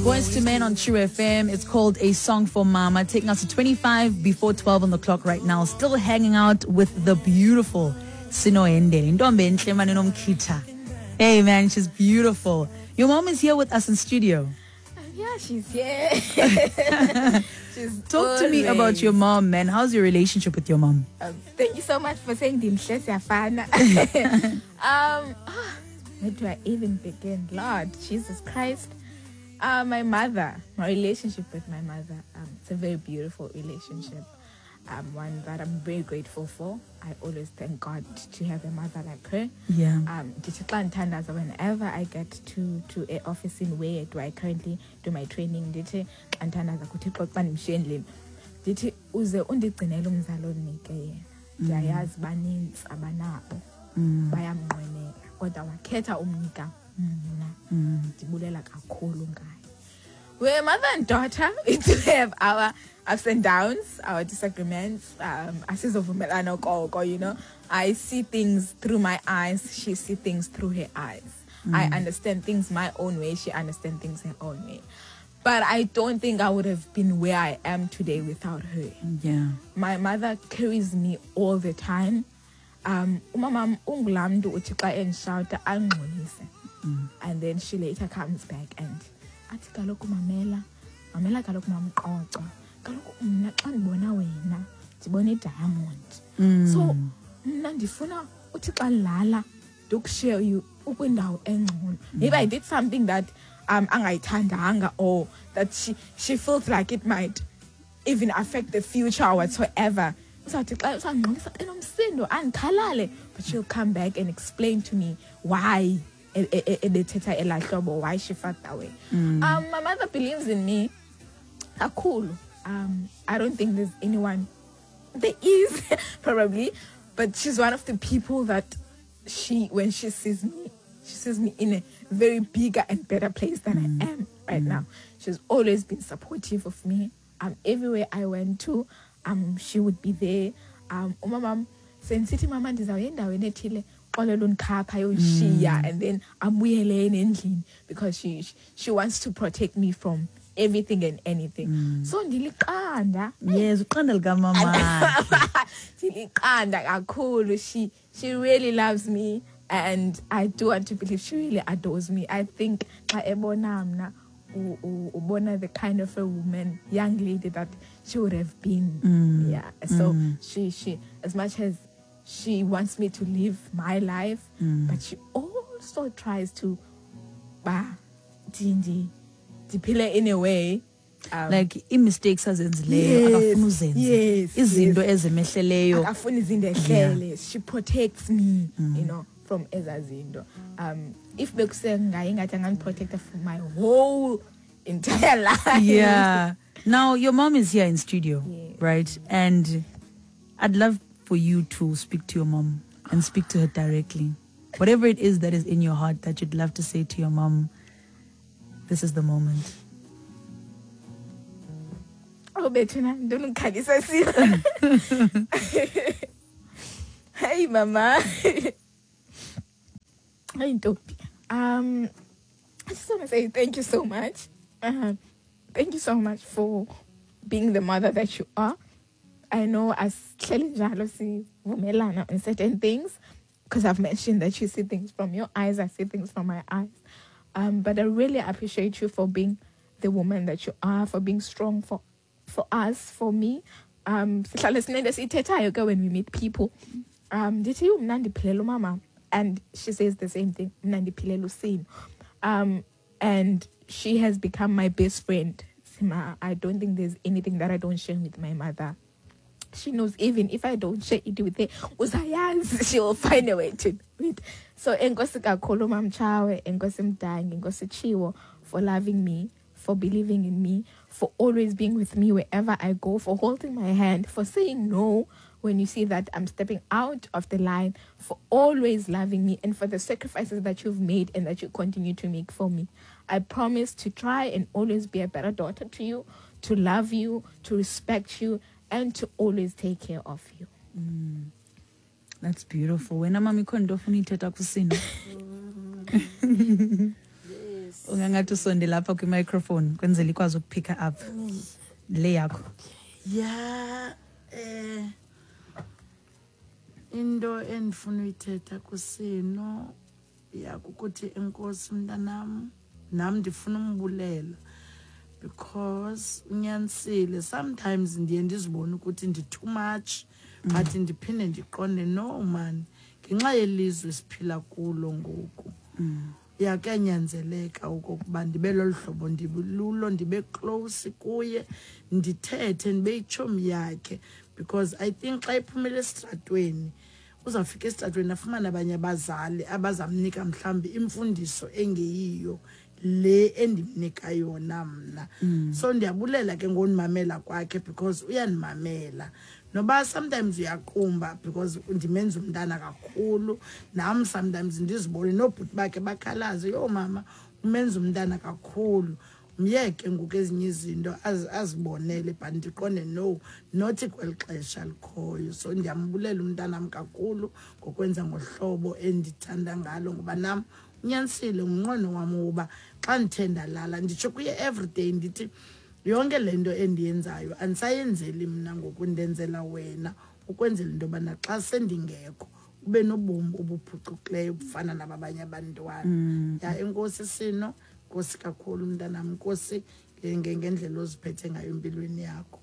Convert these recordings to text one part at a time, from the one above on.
Boyz II Men on True FM. It's called A Song for Mama, taking us to 25 before 12 on the clock right now. Still hanging out with the beautiful Sino Hendele. Ntombi enhle mane nomkhitha. Hey man, she's beautiful. Your mom is here with us in studio. Yeah, she's here. She's Talk to me about your mom, man. How's your relationship with your mom? Thank you so much for saying ndimhle siyafana. Where do I even begin? Lord, Jesus Christ. My mother, my relationship with my mother, it's a very beautiful relationship. One that I'm very grateful for. I always thank God to have a mother like her. Ndithi xa ndithandaza, whenever I get to a office in where do I currently do my training, ndithi xa ndithandaza kuThixo xa ndimshiye endlini, ndithi uze undigcinele umzali ondinike yena. Ndiyayazi banintsi abanabo, bayamnqwenela, kodwa wakhetha umnika mna. Ndibulela kakhulu ngaye. We're mother and daughter. We do have our ups and downs, our disagreements. Asizovumelana okoko. I see things through my eyes. She sees things through her eyes. I understand things my own way. She understands things her own way. But I don't think I would have been where I am today without her. My mother carries me all the time. Umama ungulaa mntu uthi xa endishawuta angxolise. And then she later comes back and athi kaloku mamela, mamela kaloku mamqoco. Kaloku mna xa ndibona wena, ndibona i-diamond. So mna ndifuna uthi xa ndilala ndikushiye you ukwindawo engcono. Maybe I did something that angayithandanga or that she feels like it might even affect the future or whatsoever. Uzawuthi xa uzawungxolisa enomsindo andikhalale, but she'll come back and explain to me why ebethetha elaa hlobo, why she felt that way. My mother believes in me kakhulu. I don't think there's anyone, there is probably, but she's one of the people that when she sees me, she sees me in a very bigger and better place than I am right now. She's always been supportive of me. Everywhere I went to, she would be there. Umama, sendisithi mama ndizawuya endaweni ethile, xolela undikhapha ayondishiya, and then abuyele endlini because she wants to protect me from everything and anything. So ndiliqanda. Yes, uqanda likamama. Ndiliqanda kakhulu. She really loves me, and I do want to believe she really adores me. I think xa ebona mna, ubona the kind of a woman, young lady that she would have been. Yeah. So she, as much as she wants me to live my life, but she also tries to ba ndi ndiphile in a way. Like i-mistakes azenzileyo, akafuni uzenze. Izinto ezimehleleyo. Akafuni izinto ehlele. She protects me, from ezaa zinto. If bekusengaye ingathi angandiprotecta for my whole entire life. Yeah. Now your mom is here in studio, Yes. right? And I'd love for you to speak to your mom and speak to her directly. Whatever it is that is in your heart that you'd love to say to your mom, this is the moment. Oh, bethuna, ntoni ngikhalisa sila. Hey, mama. Hey, ntombi. I just want to say thank you so much. Thank you so much for being the mother that you are. I know as sihleli njalo sivumelana on certain things, because I've mentioned that you see things from your eyes, I see things from my eyes. But I really appreciate you for being the woman that you are, for being strong for us, for me. Sihlale sinento esiyithethayo ke when we meet people. Ndithi mna ndiphilela umama, and she says the same thing. Mna ndiphilela uSimo. And she has become my best friend. Sima, I don't think there's anything that I don't share with my mother. She knows even if I don't share it with her, uzayazi, she will find a way to do it. So enkosi kakhulu Mamtshawe, enkosi Mdangi, enkosi Chiwo for loving me, for believing in me, for always being with me wherever I go, for holding my hand, for saying no when you see that I'm stepping out of the line, for always loving me, and for the sacrifices that you've made and that you continue to make for me. I promise to try and always be a better daughter to you, to love you, to respect you, and to always take care of you. That's beautiful. Wena mama ikhona into ofuna uyithetha kuSino? Yes. Ungangathi usondela lapha kwi-microphone kwenzela ikwazi ukupicka up le yakho. Ya, into endifuna uyithetha kuSino yakukuthi enkosi mntanam, nam ndifuna umbulela because unyanisile. Sometimes ndiye ndizibone ukuthi ndi too much, but ndiphinde ndiqonde no man, ngenxa yelizwe siphila kulo ngoku yakuyanyanzeleka okokuba ndibe lolu hlobo ndilulo, ndibe close kuye, ndithethe, ndibe yitshomi yakhe, because I think xa iphumele esitratweni uzawufika esitratweni afumane abanye abazali abazamnika mhlawumbi imfundiso engeyiyo le endimnika yona mna. So ndiyabulela ke ngondimamela kwakhe because uyandimamela, noba sometimes uyaqumba because ndimenza umntana kakhulu. Nam sometimes ndizibone noobhuti bakhe bakhalaze, yho mama umenza umntana kakhulu, myeke ngoku ezinye izinto azibonele, but ndiqonde no, not kweli xesha likhoyo. So ndiyambulela umntanam kakhulu ngokwenza ngohlobo endithanda ngalo, ngoba nam unyanisile ngumnqweno wam woba xa ndithe ndalala nditsho kuye everyday ndithi yonke le nto endiyenzayo andisayenzeli mna ngoku, ndenzela wena, ukwenzela into yobana xa sendingekho ube nobomi obuphucukileyo obufana nababanye abantwana. Ya, enkosi Sino, nkosi kakhulu mntanam, nkosi ngendlela oziphethe ngayo empilweni yakho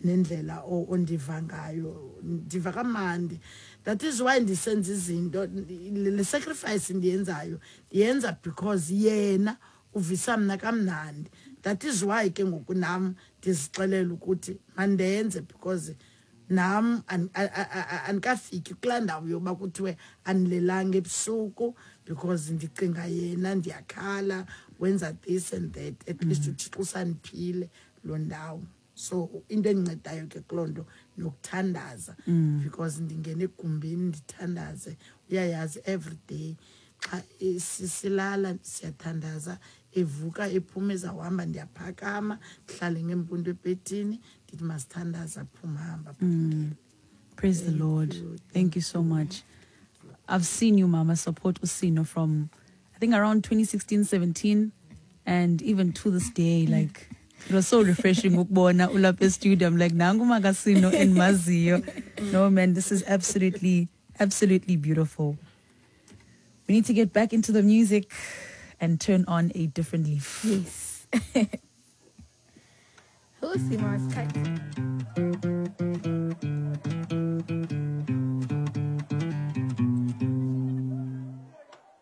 nendlela ondiva ngayo. Ndiva kamandi, that is why ndisenza izinto, le sacrifice ndiyenzayo ndiyenza because yena uvisa mna kamnandi. That is why ke ngoku nam ndizixelela ukuthi mandenze, because nam andikafiki kulaa ndawo yoba kuthiwe andilelanga ebusuku because ndicinga yena, ndiyakhala, wenza this and that. At least uThixo usandiphile loo ndawo. So into endincedayo ke kuloo nto nokuthandaza, because ndingena egumbini ndithandaze. Uyayazi every day xa silala siyathandaza, evuka ephuma ezawuhamba ndiyaphakama ndihlale ngempundu ebhedini ndithi masithandaze, aphuma hamba. Praise the Lord. Thank you so much. I've seen you, Mama, support uSino from I think around 2016, 17, and even to this day, like, it was so refreshing ukubona ulapha studio. I'm like, nangu makaSino endimaziyo. No man, this is absolutely, absolutely beautiful. We need to get back into the music and turn on a different leaf. Yes. Who's Simo?